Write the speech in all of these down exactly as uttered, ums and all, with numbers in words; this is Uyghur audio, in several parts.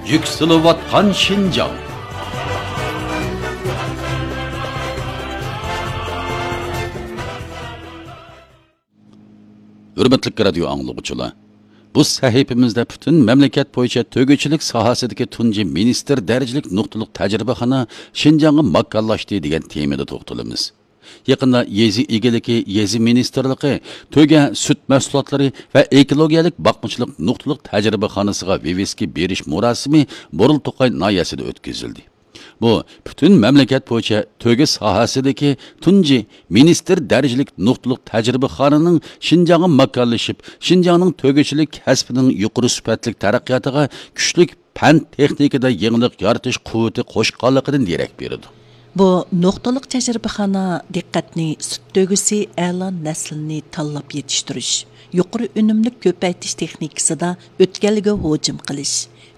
يۈكسىلىۋاتقان شىنجاڭ. ھۆرمەتلىك رادىيو ئاڭلىغۇچىلار، بۇ سەھىپىمىزدە پۈتۈن مەملىكەت بويىچە تۆگىچىلىك ساھەسىدىكى تۇنجى مىنىستىر دەرىجىلىك نۇقتىلىق تەجرىبىخانا شىنجاڭغا ماكانلاشتى دېگەن تېمىدا توختىلىمىز. يېقىندا يېزا ئىگىلىكى، يېزا مىنىستىرلىقى تۆگە سۈت مەھسۇلاتلىرى ۋە ئېكولوگىيەلىك باقمىچىلىق نۇقتىلىق تەجرىبىخانىسىغا ۋىۋىسكا بېرىش مۇراسىمى بۇرۇلتوقاي ناھىيەسىدە ئۆتكۈزۈلدى. بۇ پۈتۈن مەملىكەت بويىچە تۆگە ساھەسىدىكى تۇنجى مىنىستىر دەرىجىلىك نۇقتىلىق تەجرىبىخانىنىڭ شىنجاڭغا ماكانلىشىپ، شىنجاڭنىڭ تۆگىچىلىك كەسپىنىڭ يۇقىرى سۈپەتلىك تەرەققىياتىغا كۈچلۈك پەن تېخنىكىدا يېڭىلىق يارىتىش قۇۋۋىتى قوشقانلىقىدىن دېرەك بېرىدۇ. بۇ نۇقتىلىق تەجرىبىخانا دىققەتنى سۈت تۆگىسى ئەلا نەسلىنى تاللاپ يېتىشتۈرۈش، يۇقىرى ئۈنۈملۈك كۆپەيتىش تېخنىكىسىدا ئۆتكەلگە ھۇجۇم قىلىش،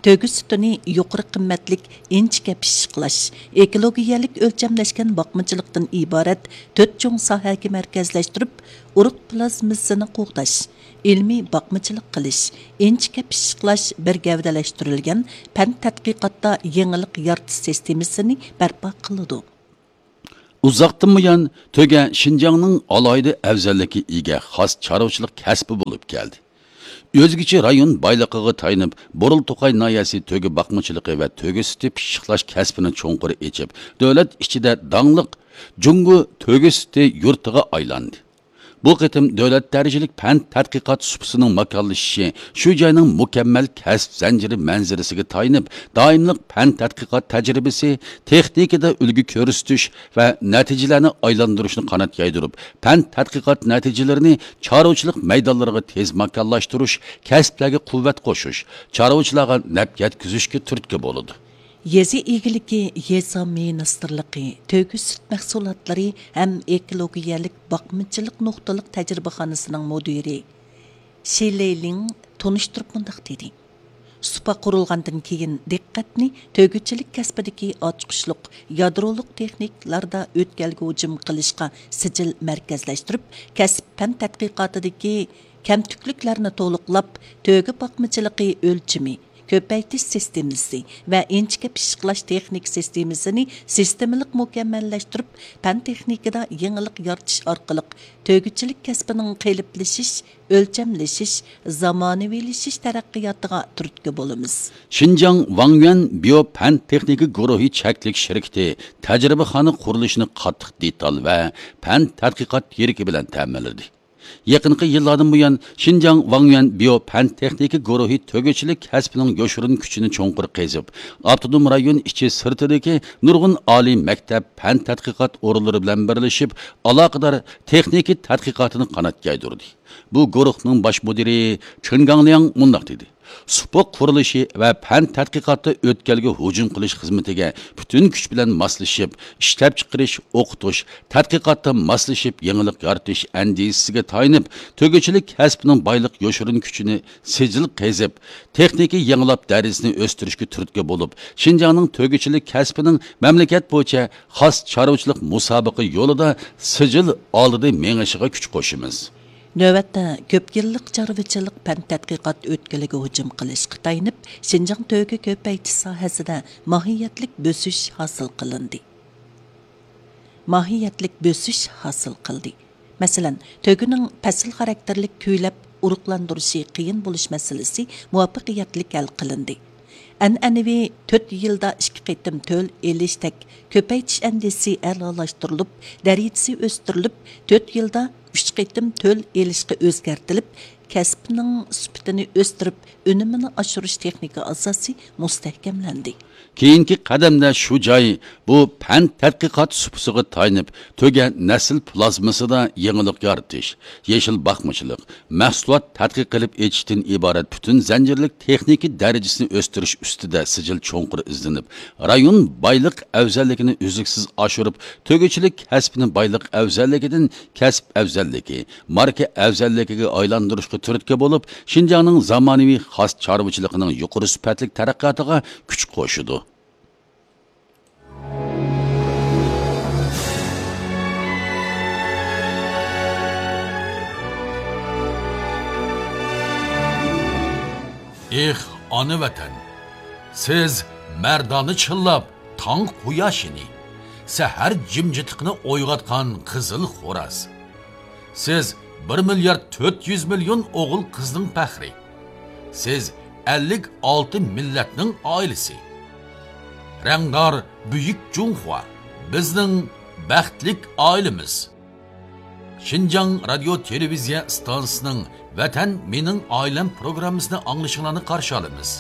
تۆگە سۈتىنى يۇقىرى قىممەتلىك ئىنچىكە پىششىقلاش، ئېكولوگىيەلىك ئۆلچەملەشكەن باقمىچىلىقتىن ئىبارەت تۆت چوڭ ساھەگە مەركەزلەشتۈرۈپ، ئۇرۇق پلازمىسىنى قوغداش، ئىلمىي باقمىچىلىق قىلىش، ئىنچىكە پىششىقلاش بىر گەۋدىلەشتۈرۈلگەن پەن تەتقىقاتتا يېڭىلىق يارىتىش سىستېمىسىنى بەرپا قىلىدۇ. ئۇزاقتىن بۇيان تۆگە شىنجاڭنىڭ ئالاھىدە ئەۋزەللىككە ئىگە خاس چارۋىچىلىق كەسپى بولۇپ كەلدى. ئۆزگىچە رايون بايلىقىغا تايىنىپ، بۇرۇلتوقاي ناھىيەسى تۆگە باقمىچىلىقى ۋە تۆگە سۈتى پىششىقلاش كەسپىنى چوڭقۇر ئېچىپ، دۆلەت ئىچىدە داڭلىق جۇڭگو تۆگە سۈتى يۇرتىغا ئايلاندى. بۇ قېتىم دۆلەت دەرىجىلىك پەن تەتقىقات سۇپىسىنىڭ ماكانلىشىشى شۇ جاينىڭ مۇكەممەل كەسىپ زەنجىرى مەنزىرىسىگە تايىنىپ، دائىملىق پەن تەتقىقات تەجرىبىسى، تېخنىكىدا ئۈلگە كۆرسىتىش ۋە نەتىجىلەرنى ئايلاندۇرۇشنى قانات يايدۇرۇپ، پەن تەتقىقات نەتىجىلىرىنى چارۋىچىلىق مەيدانلىرىغا تېز ماكانلاشتۇرۇش، كەسىپلەرگە قۇۋۋەت قوشۇش، چارۋىچىلارغا نەپ يەتكۈزۈشكە تۈرتكە بولىدۇ. يېزا ئىگىلىكى، يېزا مىنىستىرلىقى تۆگە سۈت مەھسۇلاتلىرى ھەم ئېكولوگىيەلىك باقمىچىلىق نۇقتىلىق تەجرىبىخانىسىنىڭ مۇدىرى شى لېيلىڭ تونۇشتۇرۇپ مۇنداق دېدى: سۇپا قۇرۇلغاندىن كېيىن دىققەتنى تۆگىچىلىك كەسپىدىكى ئاچقۇچلۇق يادرولۇق تېخنىكىلاردا ئۆتكەلگە ھۇجۇم قىلىشقا سىجىل مەركەزلەشتۈرۈپ، كەسىپ پەن تەتقىقاتىدىكى كەمتۈكلۈكلەرنى تولۇقلاپ، تۆگە باقمىچىلىقى ئۆلچىمى، كۆپەيتىش سىستېمىسى ۋە ئىنچىكە پىششىقلاش تېخنىكا سىستېمىسىنى سىستېمىلىق مۇكەممەللەشتۈرۈپ، پەن تېخنىكىدا يېڭىلىق يارىتىش ئارقىلىق تۆگىچىلىك كەسپىنىڭ قېلىپلىشىش، ئۆلچەملىشىش، زامانىۋىلىشىش تەرەققىياتىغا تۈرتكە بولىمىز. شىنجاڭ ۋاڭيۈەن بىيو پەن تېخنىكا گۇرۇھى چەكلىك شىركىتى تەجرىبىخانا قۇرۇلۇشىنى قاتتىق دېتال ۋە پەن تەتقىقات يىرىكى بىلەن تەمىنلىدى. يېقىنقى يىللاردىن بۇيان، شىنجاڭ ۋاڭيۈەن بىيو پەن تېخنىكا گۇرۇھى تۆگىچىلىك كەسپىنىڭ يوشۇرۇن كۈچىنى چوڭقۇر قېزىپ، ئاپتونوم رايون ئىچى سىرتىدىكى نۇرغۇن ئالىي مەكتەپ، پەن تەتقىقات ئورۇنلىرى بىلەن بىرلىشىپ، ئالاقىدار تېخنىكا تەتقىقاتىنى قانات يايدۇردى. بۇ گۇرۇھنىڭ باش مۇدىرى چېن گاڭلياڭ مۇنداق دېدى: سۇپا قۇرۇلۇشى ۋە پەن تەتقىقاتتا ئۆتكەلگە ھۇجۇم قىلىش خىزمىتىگە پۈتۈن كۈچ بىلەن ماسلىشىپ، ئىشلەپچىقىرىش، ئوقۇتۇش، تەتقىقاتتا ماسلىشىپ يېڭىلىق يارىتىش ئەندىزىسىگە تايىنىپ، تۆگىچىلىك كەسپىنىڭ بايلىق يوشۇرۇن كۈچىنى سىجىل قېزىپ، تېخنىكا يېڭىلاپ دەرىجىسىنى ئۆستۈرۈشكە تۈرتكە بولۇپ، شىنجاڭنىڭ تۆگىچىلىك كەسپىنىڭ مەملىكەت بويىچە خاس چارۋىچىلىق مۇسابىقە يولىدا سىجىل ئالدىدا مېڭىشىغا كۈچ قوشىمىز. نۆۋەتتە، كۆپ يىللىق چارۋىچىلىق پەن تەتقىقات ئۆتكىلىگە ھۇجۇم قىلىشقا تايىنىپ، شىنجاڭ تۆگە كۆپەيتىش ساھەسىدە ماھىيەتلىك بۆسۈش ھاسىل قىلىندى. ماھىيەتلىك بۆسۈش ھاسىل قىلدى. مەسىلەن، تۆگىنىڭ پەسىل خاراكتېرلىك كۈيلەپ ئۇرۇقلاندۇرۇشى قىيىن بولۇش مەسىلىسى مۇۋەپپەقىيەتلىك ھەل قىلىندى. ئەنئەنىۋى تۆت يىلدا ئىككى قېتىم تۆل ئېلىشتەك كۆپەيتىش ئەندىزىسى ئەلالاشتۇرۇلۇپ، دەرىجىسى ئۆستۈرۈلۈپ، تۆت يىلدا ئۈچ قېتىم تۆل ئېلىشقا ئۆزگەرتىلىپ، كەسىپنىڭ سۈپىتىنى ئۆستۈرۈپ، ئۈنۈمىنى ئاشۇرۇش تېخنىكا ئاساسى مۇستەھكەملەندى. كېيىنكى قەدەمدە شۇ جاي، بۇ پەن تەتقىقات سۇپىسىغا تايىنىپ، تۆگە نەسىل پلازمىسىدا يېڭىلىق يارىتىش، يېشىل باقمىچىلىق، مەھسۇلات تەتقىق قىلىپ ئېچىشتىن ئىبارەت پۈتۈن زەنجىرلىك تېخنىكا دەرىجىسىنى ئۆستۈرۈش ئۈستىدە سىجىل چوڭقۇر ئىزدىنىپ، رايون بايلىق ئەۋزەللىكىنى ئۈزلۈكسىز ئاشۇرۇپ، تۆگىچىلىك كەسپىنى بايلىق ئەۋزەللىكىدىن كەسىپ ئەۋزەللىكى، ماركا ئەۋزەللىكىگە ئايلاندۇرۇشقا تۈرتكە بولۇپ، شىنجاڭنىڭ زامانىۋى خاس چارۋىچىلىقىنىڭ يۇقىرى سۈپەتلىك تەرەققىياتىغا كۈچ قوشىدۇ. ئېھ، ئانا ۋەتەن! سىز مەردانە چىللاپ تاڭ قۇياشىنى، سەھەر جىمجىتلىقىنى ئويغاتقان قىزىل خوراز. سىز بىر مىليارد تۆت يۈز مىليون ئوغۇل قىزنىڭ پەخرى. سىز ئەللىك ئالتە مىللەتنىڭ ئائىلىسى. رەڭدار بۈيۈك جۇڭخۇا، بىزنىڭ بەختلىك ئائىلىمىز. شىنجاڭ رادىيو تېلېۋىزىيە ئىستانسىسىنىڭ ۋەتەن مېنىڭ ئائىلەم پروگراممىسىنى ئاڭلىشىڭلارنى قارشى ئالىمىز.